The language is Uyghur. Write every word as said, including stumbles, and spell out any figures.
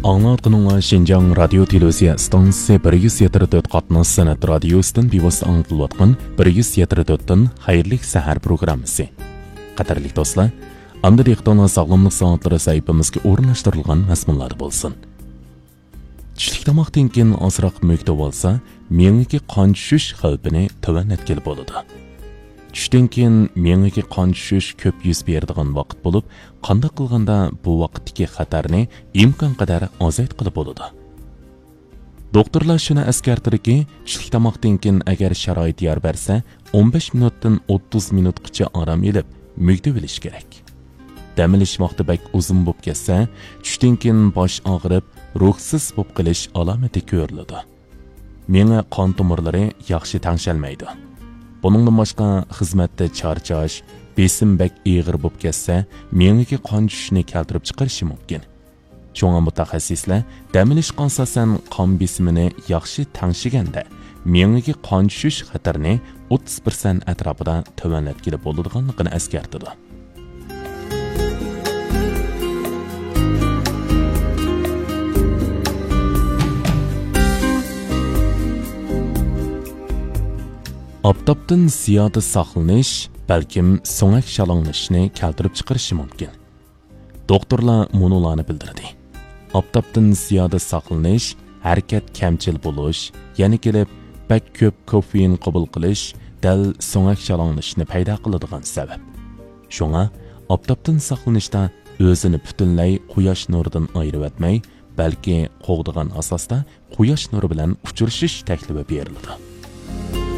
ئاڭلاۋاتقىنىڭلار شىنجاڭ رادىيو تېلېۋىزىيە ئىستانسىسى بىر يۈز يەتتە تۆت قاتناش سەنئەت رادىيوسىدىن بىۋاسىتە ئاڭلىتىلىۋاتقان بىر يۈز يەتتە تۆتتىن خەيرلىك سەھەر پروگراممىسى. قەدىرلىك دوستلار، ئەمدى دىققىتىڭلار ساغلاملىق سائەتلىرى سەھىپىمىزگە ئورۇنلاشتۇرۇلغان مەزمۇنلاردا بولسۇن. چۈشلۈك تاماقتىن كېيىن ئازراق مۆگدۈۋالسا، مېڭىگە قان چۈشۈش خەۋپىنى تۆۋەنلەتكىلى بولىدۇ. چۈشتىن كېيىن مېڭىگە قان چۈشۈش كۆپ يۈز بېرىدىغان ۋاقىت بولۇپ، قانداق قىلغاندا بۇ ۋاقىتتىكى خەتەرنى ئىمكانقەدەر ئازايتقىلى بولىدۇ. دوختۇرلار شۇنى ئەسكەرتىدۇكى، چۈشلۈك تاماقتىن كېيىن ئەگەر شارائىت يار بەرسە، ئون بەش مىنۇتتىن ئوتتۇز مىنۇتقىچە ئارام ئېلىپ، مۆگدۈۋېلىش كېرەك. دەم ئېلىش ۋاقتى بەك ئۇزۇن بولۇپ كەتسە، چۈشتىن كېيىن باش ئاغرىپ، روھسىز بولۇپ قېلىش ئالامىتى كۆرۈلىدۇ. مېڭە قان تومۇرلىرى ياخشى تەڭشەلمەيدۇ. بۇنىڭدىن باشقا، خىزمەتتە چارچاش، بېسىم بەك ئېغىر بولۇپ كەتسە، مېڭىگە قان چۈشۈشنى كەلتۈرۈپ چىقىرىشى مۇمكىن. شۇڭا مۇتەخەسسىسلەر دەم ئېلىشقا ئاساسەن قان بېسىمىنى ياخشى تەڭشىگەندە، مېڭىگە قان چۈشۈش خەتىرىنى ئوتتۇز پىرسەنت ئەتراپىدا تۆۋەنلەتكىلى بولىدىغانلىقىنى ئەسكەرتىدۇ. ئاپتاپتىن زىيادە ساقلىنىش بەلكىم سۆڭەك شالاڭلىشىشنى كەلتۈرۈپ چىقىرىشى مۇمكىن. دوختۇرلار مۇنۇلارنى بىلدۈردى. ئاپتاپتىن زىيادە ساقلىنىش، ھەرىكەت كەمچىل بولۇش، يەنە كېلىپ بەك كۆپ كوفېئىن قوبۇل قىلىش دەل سۆڭەك شالاڭلىشىشنى پەيدا قىلىدىغان سەۋەب. شۇڭا ئاپتاپتىن ساقلىنىشتا ئۆزىنى پۈتۈنلەي قۇياش نۇرىدىن ئايرىۋەتمەي، بەلكى قوغدىغان ئاساستا قۇياش نۇرى بىلەن ئۇچرىشىش تەكلىپى بېرىلىدۇ.